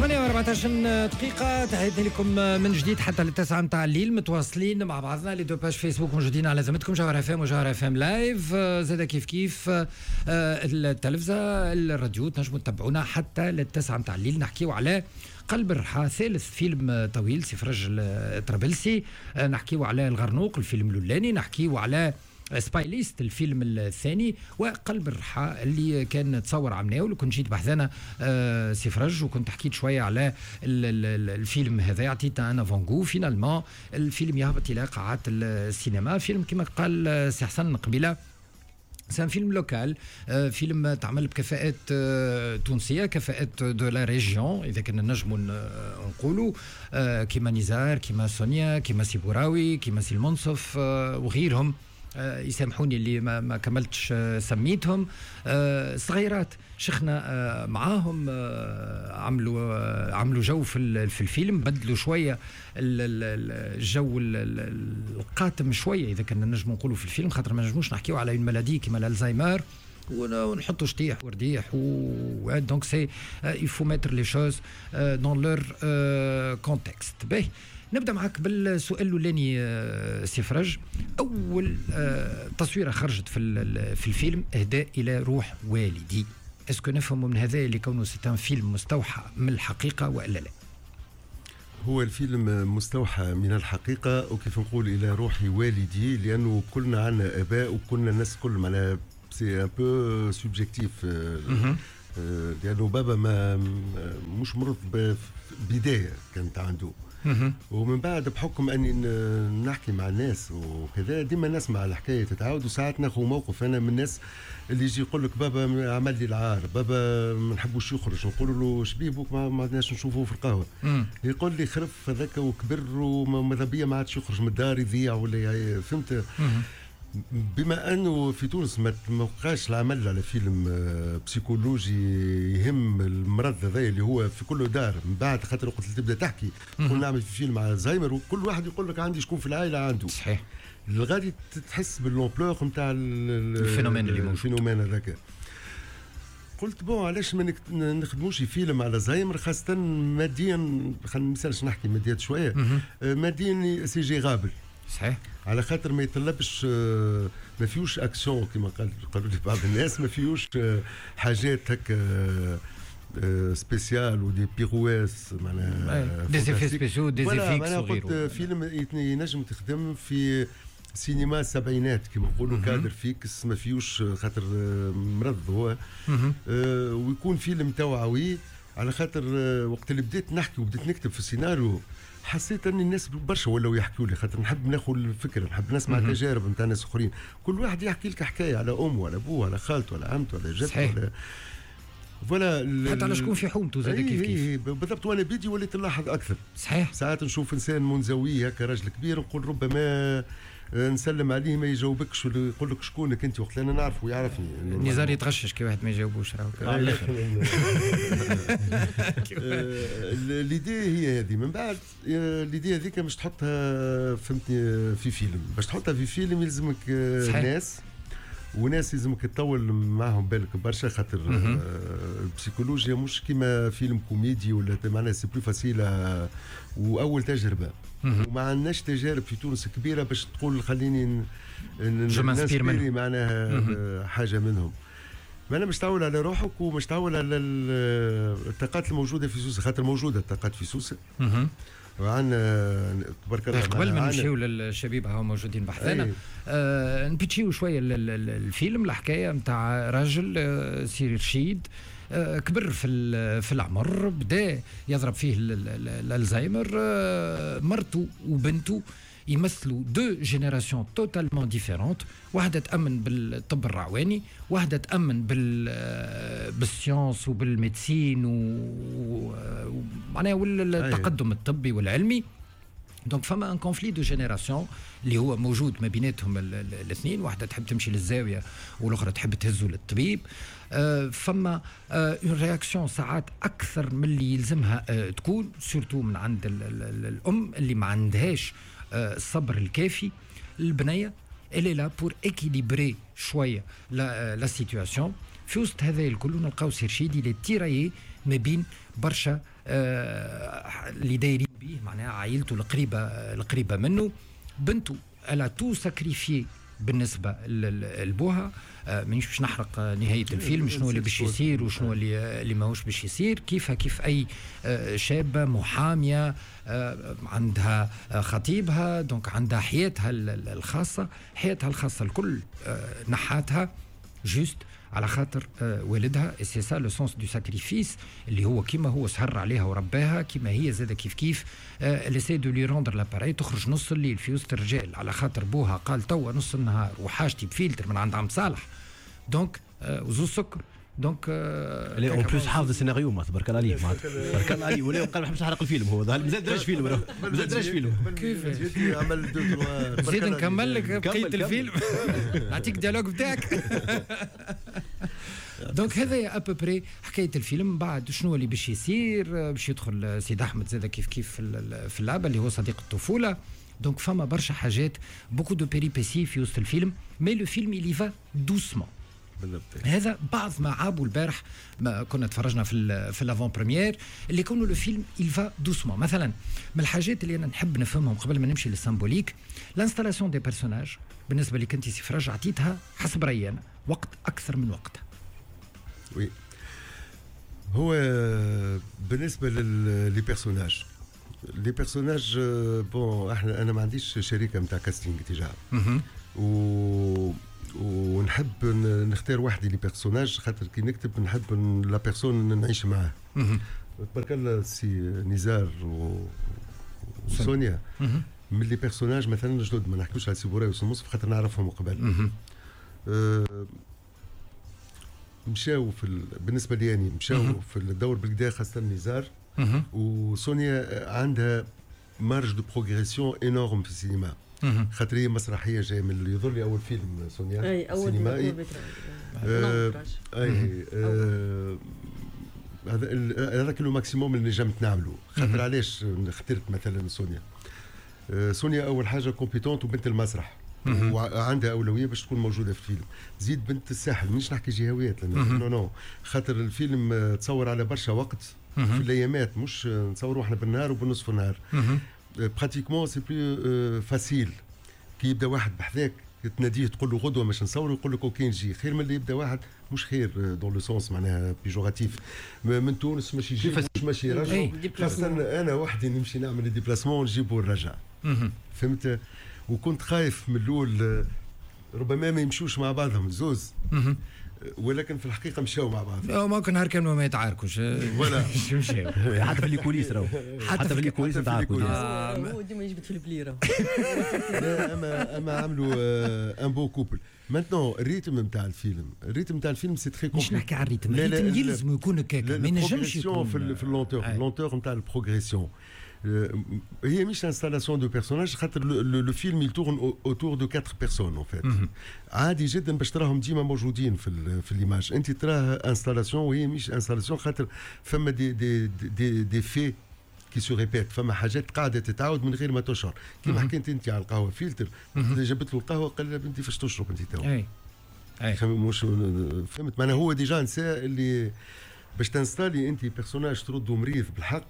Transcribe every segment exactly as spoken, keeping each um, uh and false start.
ثمانية وأربعطاش دقيقة، تحياتي لكم من جديد حتى للتسعة متاع الليل، متواصلين مع بعضنا. les deux pages Facebook موجودين على ذمتكم، جوهرة اف ام وجوهرة اف ام live، زاد كيف كيف آه، التلفزة، الراديو، تنجموا تتبعونا حتى للتسعة متاع الليل. نحكيو على قلب الرحى، ثالث فيلم طويل سي فرج الطرابلسي، آه، نحكيو على الغرنوق، الفيلم الاولاني، نحكيو على سبايليست، الفيلم الثاني، وقلب الرحى اللي كان تصور عمناول. وكنت جيت بحذانا آه، سي فرج وكنت حكيت شوية على الفيلم هذا، عطيتنا un avant-goût. finalement الفيلم يهبط الى قاعات السينما. فيلم كما قال سي حسن قبيله، c'est un film local، فيلم تعمل بكفاءات آه، تونسيه، كفاءات de la région اذا كنا نجموا نقولوا، آه، كيما نزار، كيما سونيا، كيما سي بوراوي، كيما سي المنصف وغيرهم، آه، يسامحوني اللي ما, ما كملتش آه، سميتهم. آه، صغيرات شخنا معاهم، عملوا عملوا جو في في الفيلم، بدلوا شوية الجو القاتم شوية اذا كنا نجم نقولوا في الفيلم، خاطر ما نجموش نحكيو على une maladie كيما الالزهايمر ونحطوا شطيح ورديح و donc c'est il faut mettre les choses dans leur contexte. باهي، نبدا معك بالسؤال الاولاني آه، سي فرج. اول آه، تصويره خرجت في في الفيلم، اهداء الى روح والدي، est-ce que نفهم من هذا اللي كونه c'est un film مستوحى من الحقيقة والا لا؟ هو الفيلم مستوحى من الحقيقة، وكيف نقول إلى روح والدي لأنه كلنا عندنا آباء وكلنا الناس كل معناها c'est un peu subjectif، لأنه بابا ما مش مرض، بداية كانت عنده ومن بعد بحكم اني نحكي مع الناس وكذا ديما نسمع الحكاية تتعاود، وساعات ناخذ موقف. انا من الناس اللي يجي يقول لك بابا عمل لي العار، بابا ما نحبوش يخرج، نقول له شبيه بوك ما عدناش نشوفوه في القهوه؟ يقول لي خرف هذاك وكبر وماذا بيا ما عادش يخرج من الدار، يضيع ولا فهمت. بما انه في تونس ما بقاش العمل على فيلم آه، psychologique يهم المرض هذا اللي هو في كل دار من بعد، خاطر وقت تبدا تحكي تقول نعمل في فيلم على الزهايمر وكل واحد يقول لك عندي شكون في العائلة عنده. صحيح الغادي تحس بال l'ampleur نتاع ال phénomène اللي موجود، ال phénomène هذاك. قلت bon، علاش ما نخدموش فيلم على زهايمر، خاصة ماديا، خلينا مثالش نحكي ماديات شوية، آه، ماديا c'est gérable. صحيح على خاطر ما يطلبش، آه، ما فيهوش اكسيون كما قال قالوا لي بعض الناس، ما فيهوش آه، حاجات هكا spéciales و des pirouettes معناها des effets spéciaux، des effets. معناها قلت فيلم ينجم تخدم في سينما السبعينات كما نقولوا، cadre fixe ما فيهوش، خاطر مرض هو، آه ويكون فيلم توعوي، على خاطر وقت اللي بديت نحكي وبديت نكتب في السيناريو حسيت ان الناس برشا ولاو يحكوا لي، خاطر نحب ناخذ الفكره، نحب نسمع تجارب نتاع ناس اخرين. كل واحد يحكي لك حكاية على امه ولا ابوه ولا خالته ولا عمته ولا جدته ولا voilà، حتى على شكون في حومته زاد كيف كيف. بالضبط، وانا بيدي وليت نلاحظ اكثر. صحيح ساعات نشوف انسان منزوي هكا، راجل كبير، نقول ربما نسلم عليه ما يجاوبكش ولا يقول لك شكونك انت، وقت انا نعرفه ويعرفني. نزار يتغشش كي واحد ما يجاوبوش راهو. على الاخر l'idée هي هذه. من بعد l'idée هذيك مش تحطها، فهمتني، في فيلم. باش تحطها في فيلم يلزمك صحيح. ناس وناس يلزمك تطول معهم بالك برشا، خاطر البسيكولوجيا مش كيما فيلم كوميدي ولا معناها c'est plus facile، واول تجربه وما عندناش تجارب في تونس كبيرة باش تقول خليني je m'inspire معناها حاجة منهم. معناها مش تعول على روحك ومش تعول على الطاقات الموجودة في سوسه، خاطر موجودة الطاقات في سوسه وعندنا تبارك الله. قبل ما نمشيو للشبيبه هاو موجودين بحذانا، آه نبيتشيو شوية الفيلم. الحكاية نتاع راجل، آه سي رشيد، آه كبر في في العمر، بدا يضرب فيه الالزهايمر. آه مرته وبنته يمثلوا deux générations totalement différentes، واحدة تأمن بالطب الرعواني، واحدة تأمن بال بال science وبال médecine ومعناها والتقدم الطبي والعلمي. donc فما un conflit de générations اللي هو موجود ما بيناتهم الاثنين، واحدة تحب تمشي للزاويه والاخرى تحب تهزه للطبيب. آه، فما une réaction ساعات اكثر من اللي يلزمها آه، تكون، surtout من عند الام اللي ما عندهاش آه، الصبر الكافي. البنية elle est là pour équilibrer شوية la la situation. في وسط هذا الكل نلقاو سي رشيد اللي tiraillé ما بين برشا آه اللي دايرين به، معناها عائلته القريبة القريبة منه، بنته elle a tout sacrifié بالنسبة لبوها. آه مانيش باش نحرق نهاية الفيلم، شنو اللي باش يصير وشنو اللي اللي ماهوش باش يصير. كيفها كيف اي آه شابه محاميه آه عندها خطيبها، donc عندها حياتها الخاصه، حياتها الخاصة الكل آه نحاتها juste على خاطر والدها. c'est ça le sens du sacrifice اللي هو كيما هو سهر عليها ورباها، كيما هي زاد كيف كيف elle essaie de lui rendre la pareille. تخرج نص الليل في وسط الرجال على خاطر بوها قال توا نص النهار وحاجتي بفلتر من عند عم صالح، donc وزوز سكر. donc en plus حافظ السيناريو، ما تبارك الله عليه، تبارك الله عليه، ولا قال ما نحبش نحرق الفيلم، هو مازال دراش فيلم، مازال دراش فيلم. كيف عمل deux trois، زيد نكمل لك بقية الفيلم، نعطيك dialogue بتاعك. donc هذا à peu près حكاية الفيلم. بعد شنو اللي باش يصير؟ باش يدخل سيد احمد زاد كيف كيف في اللعبة اللي هو صديق الطفوله. donc فما برشا حاجات، beaucoup de péripéties في وسط الفيلم، mais le film il y va doucement. بالضبط. هذا بعض ما عابوا البارح ما كنا تفرجنا في في l'avant-première، اللي كونوا le film il va doucement. مثلا من الحاجات اللي انا نحب نفهمهم قبل ما نمشي لل symbolique، l'installation des personnages بالنسبة لك انت سي فرج عطيتها حسب رايي انا وقت اكثر من وقتها. oui، هو بالنسبة les personnages les personnages bon احنا انا ما عنديش شركة نتاع casting déjà، و ونحب نختار وحدي les personnages، خاطر كي نكتب نحب la personne نعيش معاه. تبارك الله سي نزار وسونيا من les personnages مثلا جدد، ما نحكوش على سي بوراي وسي مصطفى خاطر نعرفهم قبل. أه مشاو في ال... بالنسبة لي يعني مشاو في الدور بالكدا، خاصة نزار وسونيا عندها marge de progression énorme في السينما، خاطر هي مسرحية جاية من اللي يظل لي اول فيلم سونيا اي اول سينمائي آه اي آه هذا هذاك le maximum اللي نجمت نعمله. خاطر علاش اخترت مثلا سونيا؟ آه سونيا اول حاجة compétente وبنت المسرح وعندها اولوية باش تكون موجودة في الفيلم. زيد بنت الساحل، مش نحكي جهويات non non، خاطر الفيلم تصور على برشا وقت في الايامات، مش نصوروا احنا بالنهار وبالنصف النهار. pratiquement c'est plus facile كي يبدا واحد بحذاك تناديه تقول له غدوه باش نصوروا يقول لك OK نجي، خير من اللي يبدا واحد مش خير dans le sens معناها péjoratif من تونس ماشي يجي مش ماشي يرجع، خاصة انا وحدي نمشي نعمل déplacement نجيبو ونرجع، فهمت؟ وكنت خايف من الاول ربما ما يمشوش مع بعضهم الزوز، ولكن في الحقيقة مشاو مع بعض. ممكن نهار كانوا ما يتعاركوش ولا مشاو حتى في ال coulisses راهو، حتى في ال coulisses نتعاركوا. هو ديما يجبد في البليره. لا اما اما عملوا un beau couple. maintenant ال rythme نتاع الفيلم، ال rythme نتاع الفيلم c'est très مش نحكي على ال rythme، ال rythme يلزم يكون هكاك، ما ينجمش يكون في في ال lenteur، ال lenteur نتاع ال progression هي مش installation de personnages، خاطر le film il tourne autour de quatre personnes en fait. عادي جدا باش تراهم ديما موجودين في في l'image، انت تراه installation وهي مش installation، خاطر فما des des des des faits qui se répètent، فما حاجات قاعدة تتعاود من غير ما تشعر. كيما حكيت انت على القهوة فلتر، جابت له القهوة قال لها بنتي فاش تشرب انت تو؟ اي اي مش فهمت معناها هو déjà نسى اللي باش تنستالي انت personnage تردو مريض بالحق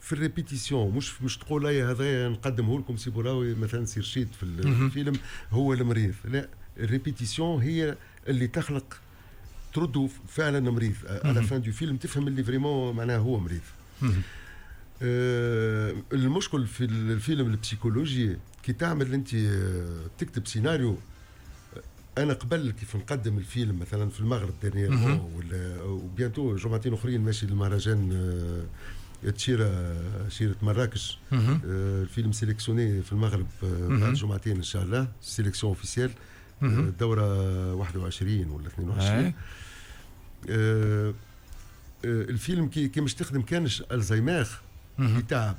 في ال répétition، مش مش تقول اي هذا نقدمه لكم سي بوراوي مثلا سي رشيد في الفيلم هو المريض، لا ال répétition هي اللي تخلق تردو فعلا مريض. à la fin du film تفهم اللي vraiment معناها هو مريض. آه المشكل في الفيلم البسيكولوجي كي تعمل انت تكتب سيناريو، انا قبل كيف نقدم الفيلم مثلا في المغرب dernièrement ولا و bientôt جمعتين اخرين ماشي للمهرجان تشيرة شيرة مراكش، آه الفيلم sélectionné في المغرب بعد جمعتين ان شاء الله، sélection officielle الدورة واحد وعشرين ولا اثنين وعشرين. آه الفيلم كي كي مش تخدم كانش الزهايمر يتعب،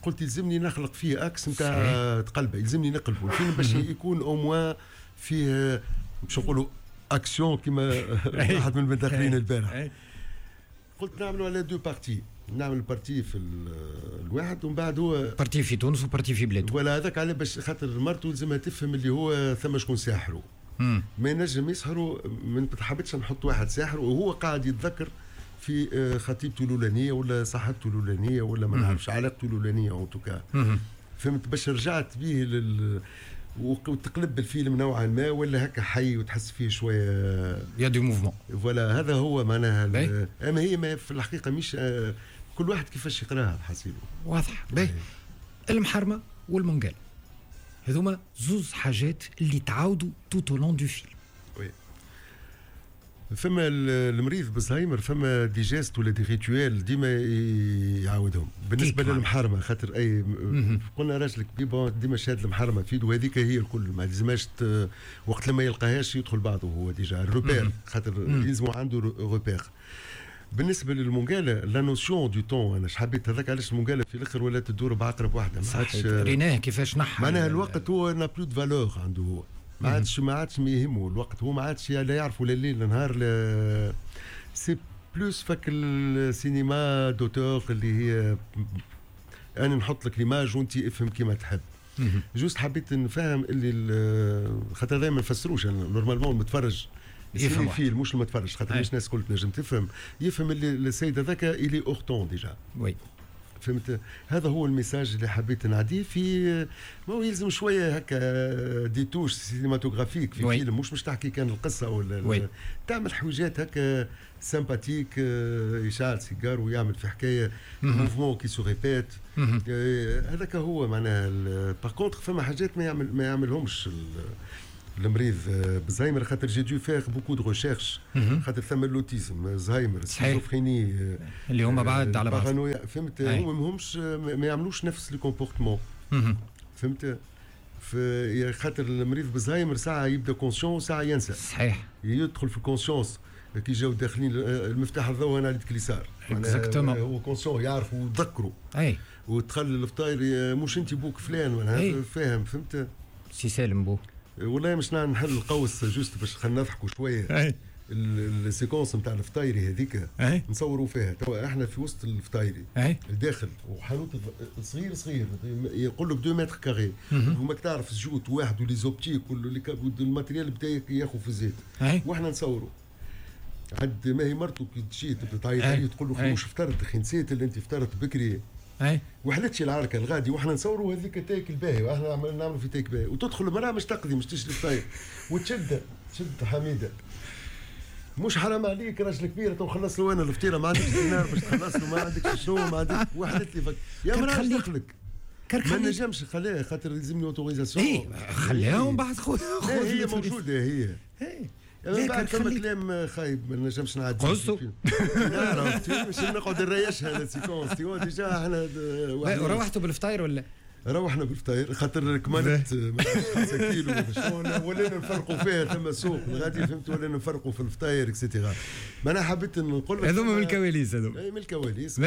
قلت يلزمني نخلق فيه axe نتاع تقلبه، يلزمني نقلبه الفيلم باش يكون au moins فيه باش نقولوا اكسيون كما واحد من المداخلين البارح. قلت نعملوا على deux parties، نعمل partie في الواحد ومن بعد هو partie في تونس و partie في بلاده. ولا هذاك على باش خاطر مرته لازمها تفهم اللي هو ثم شكون ساحرة. ما ينجم يسحروا، ما حبيتش نحط واحد ساحر وهو قاعد يتذكر في خطيبته الاولانية ولا صاحبته الاولانية ولا ما نعرفش علاقته الاولانية en tout cas. فهمت؟ باش رجعت به لل وتقلب الفيلم نوعا ما ولا هكا حي وتحس فيه شوية y a du mouvement. voilà هذا هو معناها. اما هي ما في الحقيقة مش كل واحد كيفاش يقراها حسيبه. واضح. باهي المحرمة والمنقال هذوما زوز حاجات اللي تعاودوا tout au long du film. oui فما المريض بالزهايمر فما des gestes ولا des rituels ديما يعاودهم. بالنسبة للمحرمه خاطر اي قلنا راجل كبير ديما شاد المحرمة في يده وهذيك هي الكل، ما لازمهاش وقت لما يلقاهاش يدخل بعضه هو déjà ال repère خاطر يلزمو عنده repère. بالنسبة للمونجالا la notion du temps انا حبيت هذاك علاش المونجالا في الاخر ولات تدور بعقرب واحدة. ما عادش ريناه كيفاش نحى معناها الوقت هو n'a plus de valeur عنده هو ما عادش ما عادش يهمه الوقت، هو ما عادش لا يعرف ولا الليل لا نهار. c'est plus فك السينما d'auteur اللي هي انا نحط لك l'image وانت افهم كيما تحب. juste حبيت نفهم اللي خاطر هذا ما نفسروش normalement المتفرج يفهم فيلم مش المتفرج خاطر مش الناس الكل تنجم تفهم، يفهم اللي السيد هذاك il est hors temps déjà. oui فهمت؟ هذا هو ال message اللي حبيت نعديه. في ما هو يلزم شوية هكا des touches cinématographiques في فيلم، مش مش تحكي كان القصة ولا oui. تعمل حويجات هكا sympathiques، يشعل سيجار ويعمل في حكاية mouvement qui se répète. هذاك هو معناها. par contre فما حاجات ما يعمل ما يعملهمش المريض بالزهايمر خاطر j'ai dû faire beaucoup de recherches خاطر ثم l'autisme، زهايمر، schizophrénie اللي هما بعد على بعض بارانويا. فهمت؟ هما ماهمش ما يعملوش نفس le comportement. فهمت؟ في خاطر المريض بالزهايمر ساعة يبدا conscient ساعة ينسى. صحيح. يدخل في ال conscience كي جاو داخلين المفتاح الضوء انا على يدك اليسار. exactement هو conscient يعرف ويتذكروا. اي ودخل الفطاير مش انت بوك فلان فاهم. فهمت؟ سي سالم بو والله مش نحل القوس juste باش خلينا نضحكوا شوية. ال séquence نتاع الفطايري هذيك نصوروا فيها توا احنا في وسط الفطايري الداخل وحانوت صغير صغير يقول لك deux mètres carrés وماك تعرف الجوت واحد و les optiques وال matériel بدا ياخذ في الزيت واحنا نصوروا. عاد ما هي مرته كي تجي تبدا تعيط عليه تقول له مش فطرت اخي نسيت اللي انت فطرت بكري. اي وحلتش العركه الغادي واحنا نصوروا هذيك تاك الباهي واحنا نعملوا في تاك باهي وتدخل المراة مش تقضي مش تشري فطاير وتشد تشد حميده مش حرام عليك راجل كبير تو خلص له انا الفطيره ما عندكش دينار باش تخلص له ما عندكش شنو ما عندك وحدت لي فك يا مراة دخلك ما نجمش خليها خاطر لازمني autorisation. اي خليها ومن بعد خذ هي موجودة هي اي بعد فما كلام خايب ما نجمش نعدي قصو نعرف مش نقعد نريشها la séquence déjà احنا روحتوا بالفطاير ولا؟ روحنا بالفطاير خاطر كملت خمسة كيلو ولينا نفرقوا فيها ثم سوق غادي فهمت ولينا نفرقوا في الفطاير et cetera. ما انا حبيت نقول لك هذوما من الكواليس هذوما اي من الكواليس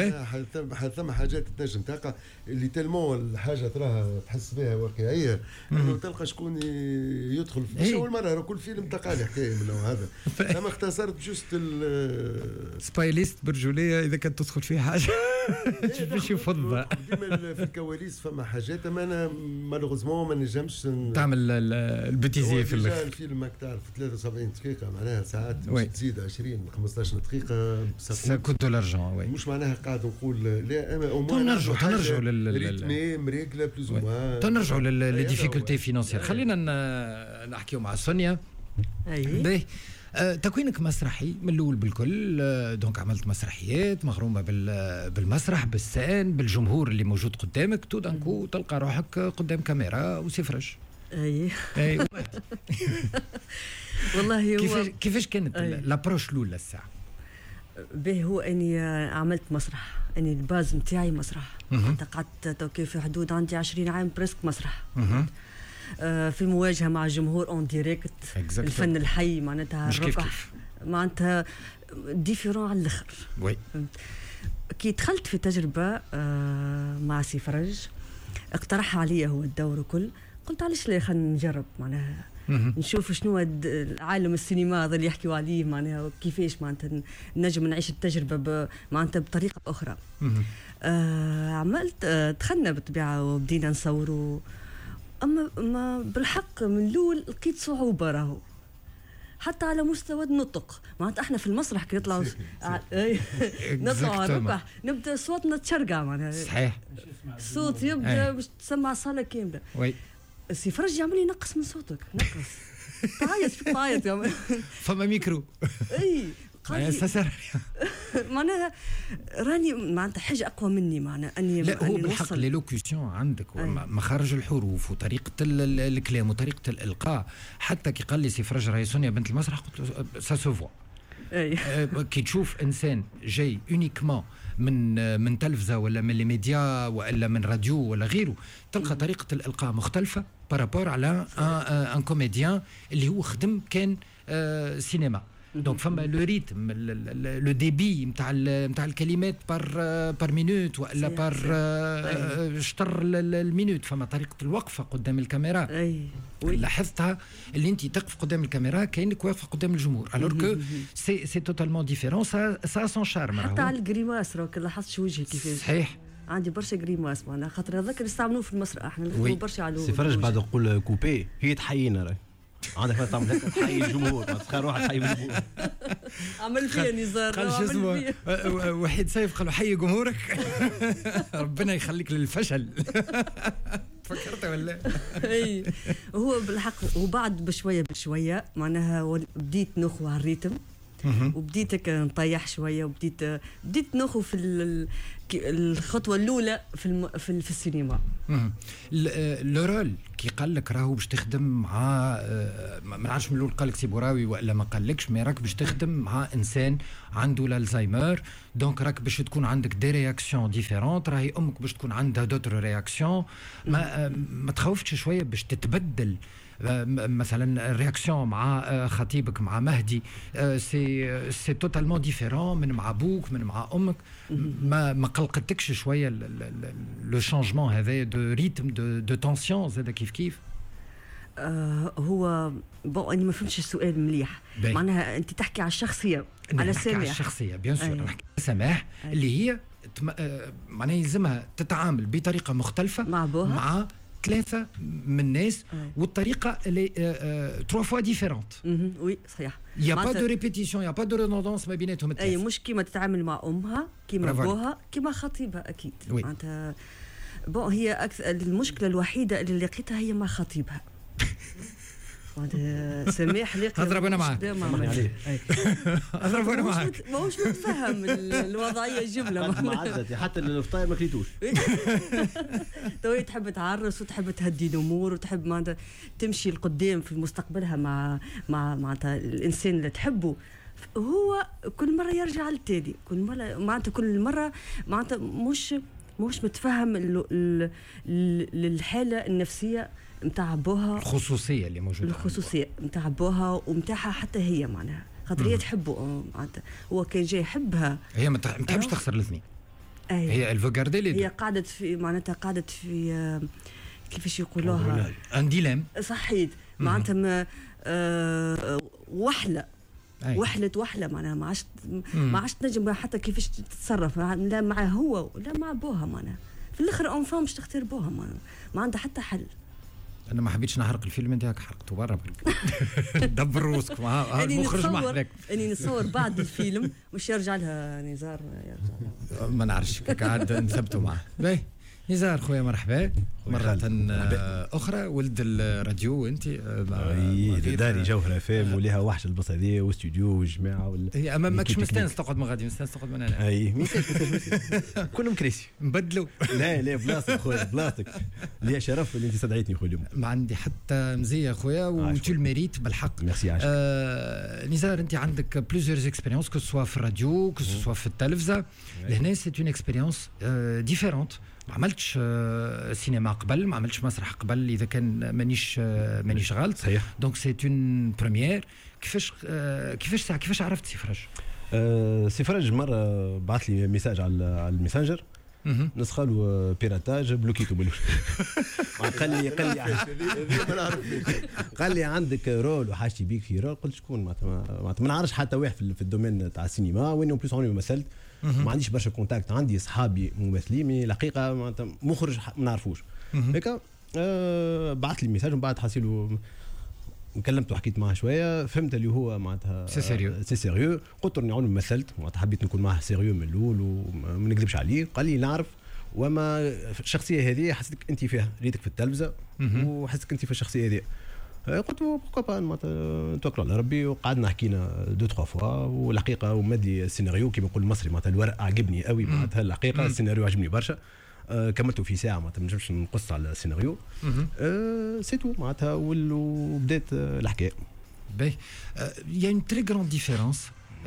ثم حاجات تنجم تقع اللي tellement الحاجة تراها تحس بها واقعية انه تلقى شكون يدخل مش اول مرة كل فيلم تقع لي حكاية من النوع هذا. اما اختصرت juste سبايليست برجولية اذا كانت تدخل فيه حاجة باش يفضها ديما في الكواليس فما حاجات اما انا malheureusement ما نجمش تعمل ال bêtisier في الاخر. الفيلم ماك تعرف ثلاثة وسبعين دقيقة معناها ساعات تزيد عشرين خمسطاش دقيقة ça coûte de l'argent. oui مش معناها قاعد نقول لا اما نرجعوا نرجعوا لل rythme مريقله plus ou moins نرجعوا لل difficultés financières. خلينا نحكيو مع سونيا. اي تكوينك مسرحي من الاول بالكل، donc عملت مسرحيات مغرومه بالمسرح بال scène بالجمهور اللي موجود قدامك، tout d'un coup تلقى روحك قدام كاميرا وسي فرج. اي اي والله هو كيفاش كيفاش كانت l'approche الاولى الساعة؟ به هو اني عملت مسرح، اني ال base نتاعي مسرح، قعدت في حدود عندي عشرين عام presque مسرح. في المواجهة مع الجمهور en direct، الفن الحي معناتها الركح معناتها différent على الاخر. oui كي دخلت في تجربه مع سي فرج اقترح عليا هو الدور وكل، قلت علاش لا خلينا نجرب معناها. نشوف شنو عالم السينما هذا اللي يحكيوا عليه معناها كيفاش معناتها نجم نعيش التجربة معناتها بطريقة اخرى. آه عملت آه دخلنا بالطبيعة وبدينا نصوروا، اما ما بالحق من الاول لقيت صعوبة راهو حتى على مستوى النطق. معناتها احنا في المسرح كي نطلعوا نطلعوا على الركح نبدا صوتنا تشرقع معناها. صحيح، الصوت يبدا باش تسمع صاله كاملة. oui سي فرج يعمل لي نقص من صوتك، نقص تعيط فيك تعيط يعمل فما ميكرو. اي معناها راني معناتها حاجة اقوى مني معناها اني لا هو بالحق l'élocution عندك مخارج الحروف وطريقه الكلام وطريقه الالقاء. حتى كي قال لي سي فرج راهي سونيا بنت المسرح قلت له ça se voit. كي تشوف انسان جاي uniquement من من تلفزه ولا من les médias ولا من راديو ولا غيره، تلقى طريقه الالقاء مختلفة par rapport على un comédien اللي هو خدم كان سينما. donc فما le rythme، le débit نتاع نتاع الكلمات par par minute والا par شطر ال minute. فما طريقه الوقفة قدام الكاميرا. اي لاحظتها اللي انت تقف قدام الكاميرا كانك واقفة قدام الجمهور، alors que c'est c'est totalement différent، ça son charme. حتى على ال grimaces راك لاحظت شو وجهي كيفاش. صحيح، عندي برشا grimaces معناها خاطر هذاك اللي استعملوه في المسرح احنا نخدموا برشا على سي فرج. بعد نقول coupez هي تحيينا راهي عندك ما تعمل هكا تحيي الجمهور، ما تخيل روحك تحيي الجمهور. عمل فيا نزار قال شو اسمه وحيد سيف قالوا حي جمهورك. ربنا يخليك للفشل. فكرت ولا؟ اي هو بالحق. وبعد بشوية بشوية معناها بديت نخو على ال rythme وبديت نطيح شوية وبديت بديت نخو في الخطوة الاولى في الم... في, في السينما. le rôle كي قال لك راهو باش تخدم مع ما نعرفش من الاول قال لك سي بوراوي والا ما قالكش، mais راك باش تخدم مع انسان عنده الالزهايمر، donc راك باش تكون عندك des réactions différentes، راهي امك باش تكون عندها d'autres réactions. ما ما تخوفتش شوية باش تتبدل مثلا ال réaction مع خطيبك مع مهدي c'est c'est totalement différent من مع ابوك من مع امك؟ ما ما قلقتكش شوية le changement هذا de rythme de de tension زاد كيف كيف؟ آه هو bon انا ما فهمتش السؤال مليح. معناها انت تحكي على الشخصية، على سماح. على الشخصية bien sûr، نحكي سماح اللي هي معناها يلزمها تتعامل بطريقة مختلفة مع بوها مع ثلاثة من الناس، والطريقة اللي trois fois différente. oui صحيح، y a pas de répétition، y a pas de redondance ما بيناتهم الثلاثة. اي مش كيما تتعامل مع امها كيما بوها كيما خطيبها اكيد. معناتها bon هي أكثر المشكلة الوحيدة اللي لقيتها هي مع خطيبها. سماح لقي اضرب انا معاك، اضرب انا معاك، ماهوش متفهم الوضعية الجملة ما حتى الفطاير ما كليتوش. تو تحب تعرس وتحب تهدي الامور وتحب معناتها تمشي لقدام في مستقبلها مع مع معناتها الانسان اللي تحبه. هو كل مرة يرجع للتالي، كل مرة معناتها كل مرة معناتها مش مش متفهم الحالة النفسية نتاع بوها، الخصوصية اللي موجودة، الخصوصية نتاع بوها ومتاعها حتى هي معناها خاطر هي تحبه معناتها هو كان جاي يحبها، هي ما تحبش تخسر الاثنين. هي elle veut garder les هي قعدت في معناتها قعدت في كيفاش يقولوها un dilemme. صحيت معناتها آه وحله أي. وحلت وحله معناها ما عادش ما عادش تنجم حتى كيفاش تتصرف لا مع هو ولا مع بوها معناها في الاخر enfin باش تختار بوها معناها ما عندها حتى حل. انا ما حبيتش نحرق الفيلم نتاعك، حرقته برا دبر روسكم. ها المخرج ما حرق. اني نصور بعد الفيلم مش يرجع لها نزار، يرجع لها ما نعرفش قاعد نثبتوا معاه. باهي نزار خويا مرحبا مرة أخرى، ولد الراديو أنت. اي داري جوهرة فام وليها وحش البلاصة هذه واستوديو والجماعة وال اي أما ماكش مستانس تقعد من غادي، مستانس تقعد من هنا. اي ميسالش كلهم كراسي نبدلوا. لا لا بلاصتك خويا بلاصتك، ليا شرف اللي أنت استدعيتني خويا اليوم. ما عندي حتى مزية خويا و tu le mérites بالحق. ميرسي عايشك. آه نزار أنت عندك plusieurs expériences que ce soit في الراديو que ce soit في التلفزة، لهنا c'est une expérience différente. ما عملتش سينما قبل، ما عملتش مسرح قبل اذا كان مانيش مانيش غلط. صحيح. donc c'est une première. كيفاش كيفاش كيفاش عرفت سي فرج؟ أه سي فرج مرة بعث لي message على على الميسنجر، نسخه piratage بلوكيتو بالأول. قال لي قال لي قال لي عندك rôle وحاجتي بيك في rôle. قلت شكون؟ معناتها ما نعرفش حتى واحد في ال domaine تاع السينما، وين en plus عمري ما مثلت، ما عنديش برشا contacts، عندي اصحابي ممثلين mais الحقيقة معناتها مخرج ما نعرفوش. هيك أه بعث لي message ومن بعد حاسيلو كلمته وحكيت معاه شويه، فهمت اللي هو معناتها c'est sérieux c'est sérieux. قلت له عمري ما مثلت، معناتها حبيت نكون معاه sérieux من الاول وما نكذبش عليه. قال لي نعرف، وما الشخصية هذه حسيتك انت فيها، ريتك في التلفزة وحسيتك انت في الشخصية هذه. قلت له pourquoi pas، معناتها نتوكلوا على ربي. وقعدنا حكينا deux trois fois، والحقيقة ومد لي السيناريو كيما نقول المصري، معناتها الورق عجبني قوي، معناتها الحقيقة السيناريو عجبني برشا. آه كملته في ساعه، معناتها ما نجمش نقص على السيناريو. آه c'est tout معناتها، وبدات الحكاية. باهي، y a une très grande différence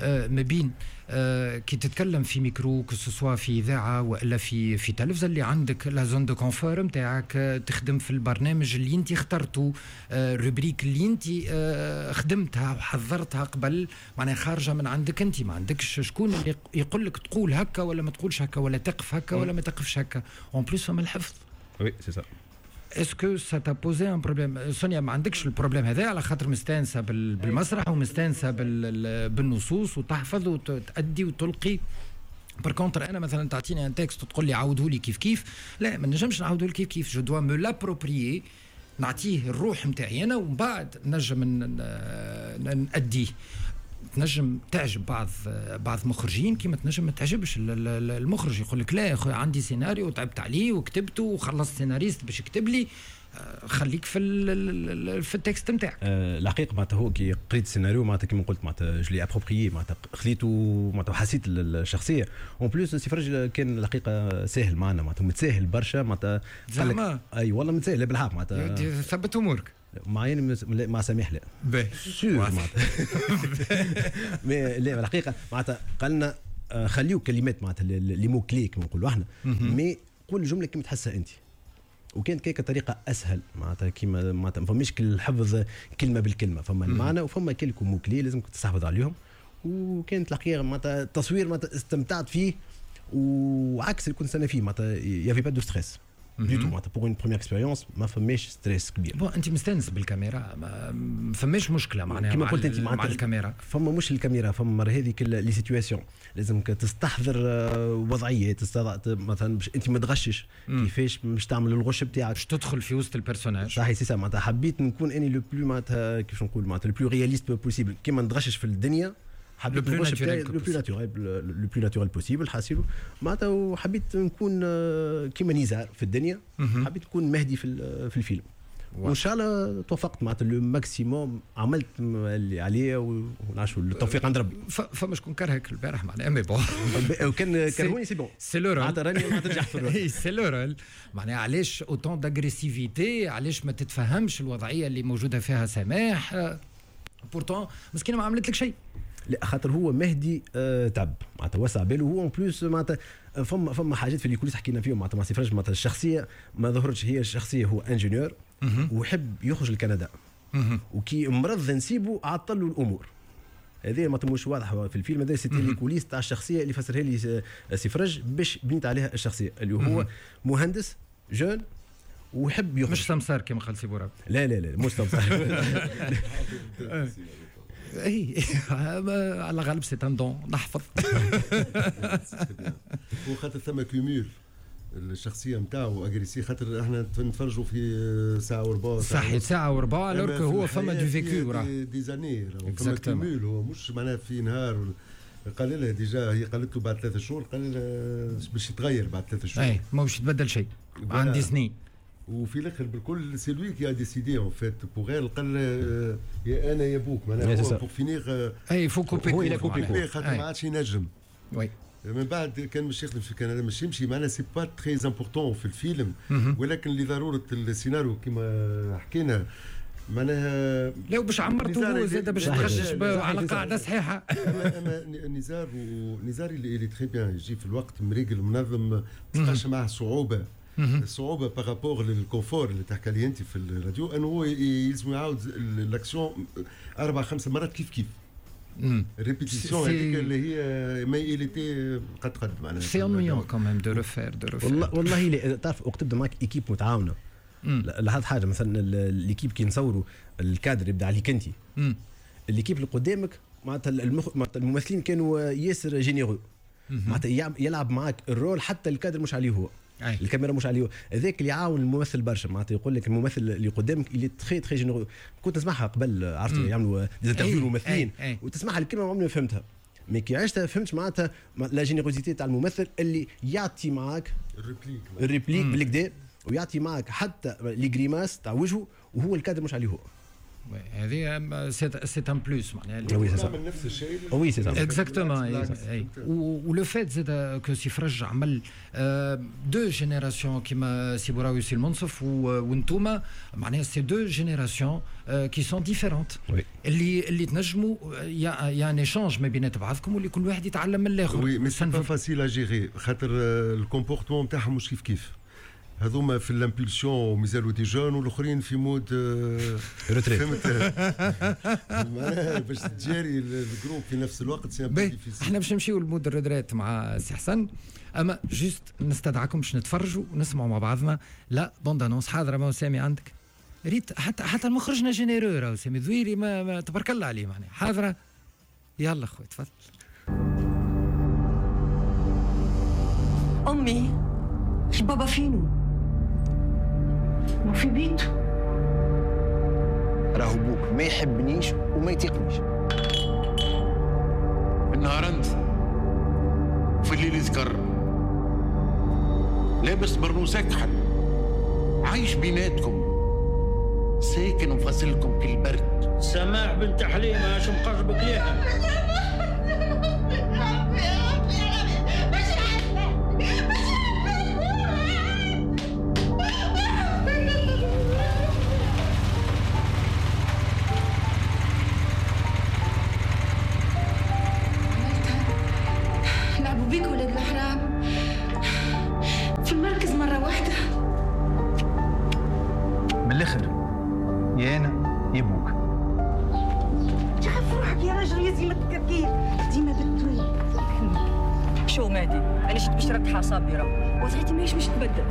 ما بين آه كي تتكلم في micro، que ce soit في اذاعة والا في في تلفزه، اللي عندك la zone de confort نتاعك، تخدم في البرنامج اللي انت اخترته، آه rubrique اللي انت آه خدمتها وحضرتها قبل، معناها خارجه من عندك انت، ما عندكش شكون اللي يقول لك تقول هكا ولا ما تقولش هكا، ولا تقف هكا ولا ما تقفش هكا. en plus فما الحفظ. oui c'est ça. est-ce que ça t'a posé un problème سونيا؟ ما عندكش ال problème هذا على خاطر مستانسه بالمسرح ومستانسه بالنصوص وتحفظ وتأدي وتلقي. par contre انا مثلا تعطيني un texte وتقول لي عاوده لي كيف كيف، لا ما نجمش نعاوده لك كيف كيف، je dois me l'approprier، نعطيه الروح نتاعي انا ومن بعد نجم نأديه. تنجم تعجب بعض بعض مخرجين كيما تنجم ما تعجبش المخرج، يقول لك لا يا خويا عندي سيناريو وتعبت عليه وكتبته وخلصت سيناريست باش يكتب لي، خليك في في ال texte نتاعك. أه الحقيقة معناتها هو كي قريت السيناريو معناتها كيما قلت معناتها je l'ai approprié، معناتها خذيته معناتها وحسيت الشخصية. en plus سي فرج كان الحقيقة ساهل معنا، معناتها متساهل برشا معناتها. زعما اي والله متساهل بالحق معناتها. ثبت امورك معين مع سميح لا باهي sûr معناتها. mais لا الحقيقة معناتها قالنا خليو كلمات معناتها les mots clés كما نقولوا احنا، mais قول الجملة كيما تحسها انت. وكانت كيك طريقه اسهل معناتها، كيما معناتها ما فماش الحفظ كلمة بالكلمه، فما المعنى وفما quelques mots clés لازمك تستحفظ عليهم. وكانت الحقيقة معناتها التصوير معناتها استمتعت فيه، وعكس اللي كنت سنة فيه معناتها y avait pas de stress du tout، معناتها pour une première expérience ما فماش stress كبير. bon انت مستانس بالكاميرا، ما فماش مشكلة معناها. كيما قلت انت مع الكاميرا فما مش الكاميرا، فما مرة هذيك les situations لازمك تستحضر وضعيات، مثلا باش انت ما تغشش، كيفاش باش تعمل الغش بتاعك باش تدخل في وسط ال personnage. صحيح c'est ça، معناتها حبيت نكون اني le plus معناتها كيفاش نقول معناتها le plus réaliste possible، كيما نتغشش في الدنيا حبيت الغش بتاعي le plus naturel le plus naturel possible حاسيلو معناتها. وحبيت نكون كيما نزار في الدنيا، حبيت نكون مهدي في في الفيلم، وان شاء الله توفقت معناتها le maximum، عملت اللي عليا ونعرفوا التوفيق عند ربي. فما شكون كرهك البارح معناها، mais bon وكان كرهوني c'est bon c'est le rôle، معناتها راني ما تنجح في ال rôle. c'est le rôle معناها علاش autant d'agressivité، علاش ما تتفهمش الوضعية اللي موجودة فيها سماح؟ pourtant مسكينه ما عملت لك شيء. لا خاطر هو مهدي آه تعب معناتها وسع باله هو en plus معناتها فما فما حاجات في les coulisses حكينا فيهم معناتها مع سي فرج، معناتها الشخصية ما ظهرتش، هي الشخصية هو ingénieur ويحب يخرج لكندا، وكي مرض نسيبه عطل له الامور. هذه ما مش واضحة في الفيلم هذا، c'était les coulisses تاع الشخصية اللي فسرها لي سي فرج باش بنيت عليها الشخصية اللي هو مهندس jeune ويحب يخرج. مش سمسار كما قال سي بوراب. لا لا لا مش سمسار. اي على غالب c'est un don نحفظ. هو خاطر ثم cumul الشخصية نتاعو agressif، خاطر احنا نتفرجوا في ساعة وربع. صحيح ساعة وربع، alors que هو فما du vécu وراه des années، فما cumul. هو مش معناها في نهار قال لها déjà، هي قالت له بعد ثلاثة شهور، قال لها باش يتغير بعد ثلاثة شهور. اي ما باش يتبدل شيء عندي سنين. وفي الاخر بالكل c'est lui qui a décidé en fait pour elle، قال يا انا يا بوك معناها pour finir. اي faut couper، هو il a coupé خاطر ما عادش ينجم. oui من بعد كان مش يخدم في كندا مش يمشي معناها c'est pas très important في الفيلم، ولكن لضرورة السيناريو كما حكينا معناها لو باش عمرته هو زاد باش تخشش على قاعدة صحيحه. اما اما نزار ونزار اللي très bien يجي في الوقت مريقل منظم، ما تلقاش معاه صعوبة. الصعوبة par rapport لل confort اللي تحكي عليه انت في الراديو، انه هو يلزم يعاود l'action اربع خمس مرات كيف كيف. répétition هذيك اللي هي mais il était قد قد معناها c'est ennuyant quand même de refaire de refaire. والله والله تعرف وقت تبدا معك équipe متعاونة، لاحظت حاجة مثلا l'équipe كي نصوروا الكادر يبدا عليك انت، l'équipe اللي قدامك معناتها المخ... معناتها الممثلين كانوا ياسر généreux، معناتها يلعب معك ال rôle حتى الكادر مش عليه هو. أي. الكاميرا مش عليه، هذاك اللي يعاون الممثل برشا، معناتها يقول لك الممثل اللي قدامك اللي très très généreux. كنت نسمعها قبل، عرفت يعملوا des interviews الممثلين وتسمعها الكلمة ما عمري ما فهمتها، mais كي عشتها فهمت معناتها la générosité تاع الممثل اللي يعطي معاك ال réplique ال réplique بالكدا، ويعطي معاك حتى les grimaces تاع وجهه وهو الكادر مش عليه هو. هذه c'est un plus معناها. oui c'est نفس الشيء. oui c'est ça exactement. و le fait زاد que سي فرج عمل deux générations كيما سي بوراوي وسي المنصف وانتوما، معناها c'est deux générations qui sont différentes اللي اللي تنجموا y a un échange ما بينات بعضكم واللي كل واحد يتعلم من الاخر. oui mais c'est pas facile à gérer خاطر ال comportement نتاعهم مش كيف كيف. هذوما في l'impulsion مازالوا des jeunes والاخرين في mode retraite. فهمت معناها باش تجاري ال groupe في نفس الوقت c'est un difficile. احنا باش نمشيو ل mode ال retraite مع سي حسن، اما juste نستدعاكم باش نتفرجوا ونسمعوا مع بعضنا la bande-annonce. حاضره ما سامي عندك ريت حتى حتى المخرجنا généreux راهو سامي ذويري ما, ما تبارك الله عليه معناها. حاضره يلا خويا تفضل. امي بابا فينو؟ ما في بيته. راهو بوك ما يحبنيش وما يتيقنيش. النهار انت وفي الليل يذكر، لابس برنوس اكحل، عايش بيناتكم، ساكن وفاصلكم كالبرد. سماح بنت حليمة اش مقربك ليها؟ يا انا يا بوك. تخاف روحك يا راجل يا زيمة التكركير ديما بالطويل. شو مهدي انا جيت باش نركح اعصابي راه وضعيتي ماهيش باش تبدل.